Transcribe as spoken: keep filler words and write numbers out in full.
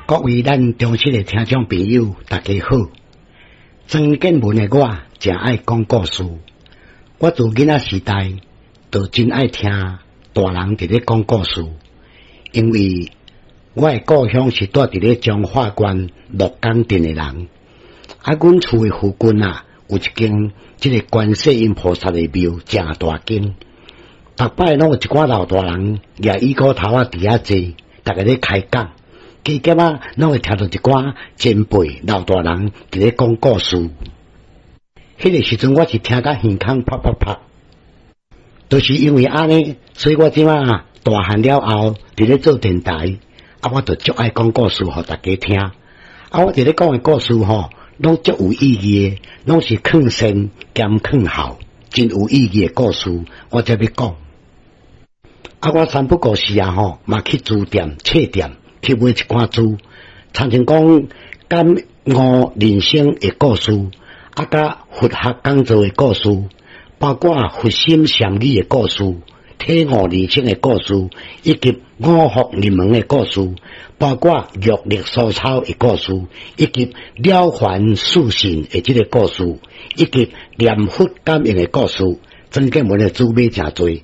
各位咱忠實的聽眾朋友，大家好。曾建文的我誠愛講故事。我自囡仔時代就真愛聽大人佇咧講故事，因為我的故鄉是蹛佇咧彰化縣鹿港鎮的人。啊，阮厝的附近啊，有一間這個觀世音菩薩的廟，誠大間。逐擺攏有一寡老大人舉椅箍頭仔佇遐坐，逐家咧開講。加減仔，攏會聽著一寡前輩老大人佇咧講故事。彼個時陣，我是聽甲耳孔啪啪啪，就是因為按呢，所以我這馬大漢了後，佇咧做電台，啊，我就足愛講故事予大家聽。啊，我佇咧講的故事吼，攏足有意義的，攏是勸善兼勸孝，真有意義的故事，我才欲講。啊，我三不五時啊吼，嘛去書店、冊店去買一寡書，親像講感悟人生的故事，啊，佮佛學講座的故事，包括佛心禪語的故事，體悟人生的故事，以及五福臨門的故事，包括玉立疏草的故事，以及了凡四訓的這个故事，以及念佛感應的故事，曾建文的書買誠濟。